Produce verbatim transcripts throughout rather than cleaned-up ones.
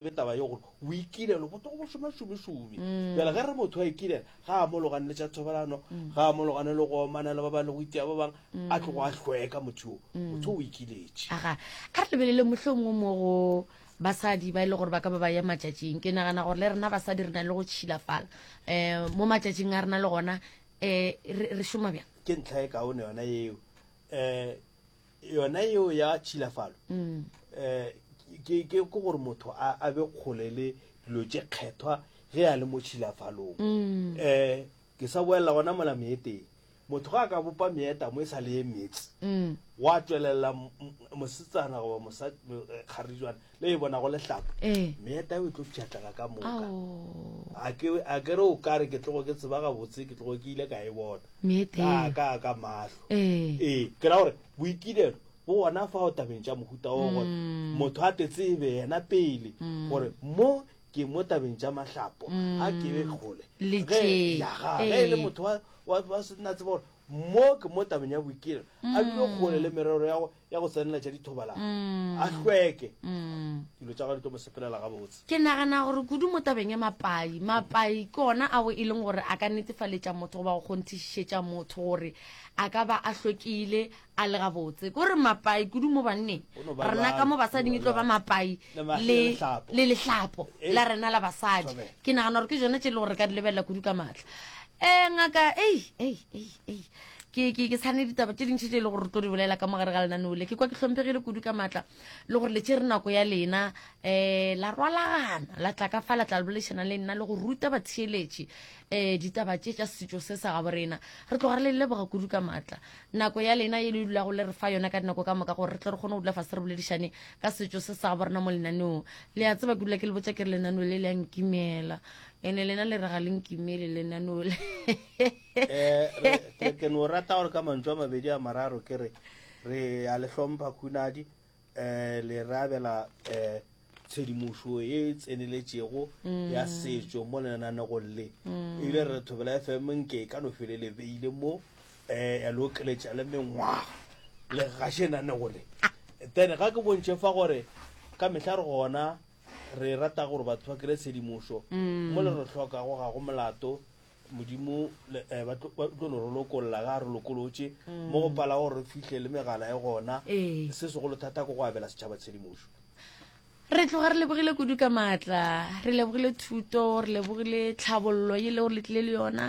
Be taba ye gore o ikilelo bo tlogo bo šoma šomešome. Bjale ge re motho a ikilela, ga a mologane le tša thobalano, ga a mologane le go omana le ba bang le go itia ba bang, a tlogo a hlweka motho yo. Motho o o ikiletše. Aga, a re lebelele mohlomongwe mo go basadi ba e le gore ba ka ba ba ya matšatšing. Ke nagana gore le rena basadi re na le go tšhilafala um mo matšatšing a rena le gona um re, re šoma bjang? Ke ntlha e kaone yona yeo. Um yona yeo ya tšhilafalo um ke ke ke gore motho a a be kgole le dilo tše kgethwa ge a le mo tšhilafalong. Um ke sa boelela gona mola meeteng. Motho ga a ka bopa meeta mo e sa le ye meetse, gwa tšwelela mosetsana goba mosa kgarijwana le e bonago lehlapo, meeta eo e tlo pšhatlega ka moka. A ke a ke re o ka re ke tlogo ke tseba gabotse, ke tlogo ke ile ka e bona ka ka ka mahlo. Ee, ke ra gore boikilelo bo gona fao tabeng tša mohuta wo, gore motho a te tsebe yena pele gore mo ke mo tabeng tša mahlapo, a ke be kgole. Le Ge tše. ya ga ge e le motho wa wa wa se nna tseba gore mo ke mo tabeng ya boikilelo, a dule kgole le merero ya go ya go tsenela tša dithobalano, a hlweke, dilo tša gagwe di tlo mo sepelela gabotse. Ke nagana gore kudu mo tabeng ya mapai, mapai ke ona ao e leng gore a ka netefaletša motho goba go kgonthišetša motho gore a ka ba a hlwekile, a le gabotse. Ke gore mapai kudu mo banneng, Go no ba rena ka bjalo, mo go no ba basading e tlo ba bjalo. mapai Le ma- le le lehlapo. le lehlapo Ee. la rena la basadi. Thobela. Ke nagana gore ke tšona tše e le gore re ka di lebelela kudu ka maatla. Um ngaka, ei, ei, ei, ei, ke, ke, ke sane ditaba tše dintši tše e le gore re tlo di bolela ka mo gare ga lenaneo le. Ke kwa ke hlomphegile kudu ka maatla le gore le tšere nako ya lena um la rwalagana la tla ka fa la tla le boledišana le nna le go ruta batheeletši um ditaba tše tša setšo se sa gabo rena. Re tloga re le leboga kudu ka maatla nako ya lena ye le dulago le re fa yona ka dinako ka moka gore re tle re kgone go dula fase re boledišane ka setšo se sa gabo rena mo lenaneong. Le a tseba ke dula ke le botša ke re lenaneo le le a nkimela, ene lena le re ga le nkimele lenaneo le. Eh, re- ke ke no rata gore ka mantšu a mabedi a mararo ke re re a le hlompha Khunadi, eh le re abela eh tshedimošo e tseneletšego ya setšo mo lenanegong le. Ebile re re Thobela F M nke e ka no fele le beile mo eh ya le okeletša le mengwaga le gaše nanego le. Then ga ke bontšhe fa gore ka mehla re gona re rata gore batho ba kry tshedimošo mo le re hlokago ga go molato. Modimo le- eh, ba tlo ba tlo no re lokolla ga a re lokolotše mo go pala gore re fihle le megala e gona. Ee. Se segolo thata ke go abela setšhaba tshedimošo. Re tloga re lebogile kudu ka maatla, re lebogile thuto, re lebogile tlhabollo ye le gore le tlile le yona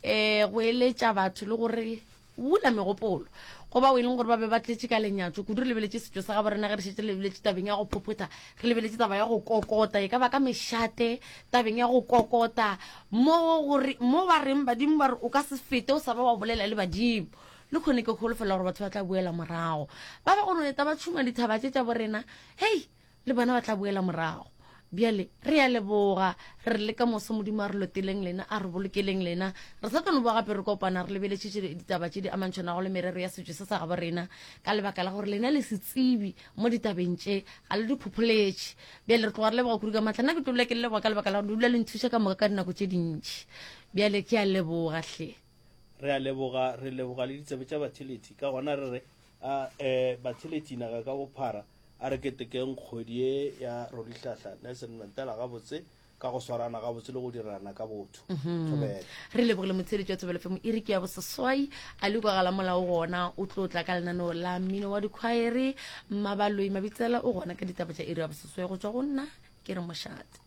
um go eletša batho le gore bula megopolo go bao e leng gore ba be ba tletše ka lenyatšo kudu. Re lebeletše setšo sa gabo rena ge re šetše re lebeletše tabeng ya go phophotha, re lebeletše taba ya go kokota, e ka ba ka mešate, tabeng ya go kokota mo gore mo ba reng badimo ba re o ka se fete o sa ba wa bolela le badimo. Le kgone ke kholofela gore batho ba tla boela morago, ba ba go no eta ba tšhuma dithaba tše tša bo rena, hei le bona ba tla boela morago. Bjale re a leboga, re le ka moso Modimo a re loteleng lena, a re bolokeleng lena. Re sa tlo no boa gape re kopana re lebeletše tše ditaba tše di amantšhanago le merero ya setšo se sa gabo rena, ka lebaka la gore lena le se tsebi mo ditabeng tše, ga le di phopholetše. Bjale re tloga re leboga kudu ka maatla. Nna ke tlo dula ke le leboga ka lebaka la gore le dula le nthuša ka moka ka dinako tše dintši. Bjale ke a leboga hle. Re a leboga, re leboga le ditsebe tša batheletši. Ka gona re re a eh batheletši naga ka bophara a re ketekeng kgwedi ye ya Rolihlahla Nelson Mandela gabotse ka go swarana gabotse le go dirana ka botho. Thobela. Re lebogile motheeletši wa Thobela F M. Iri ke ya boseswai, a le kwagala molao gona o tlo tla ka lenaneo la mmino wa dikhwaere. Mmabaloi Mabitsela o gona ka ditaba tša iri ya boseswai go tšwa go nna ke re mošate.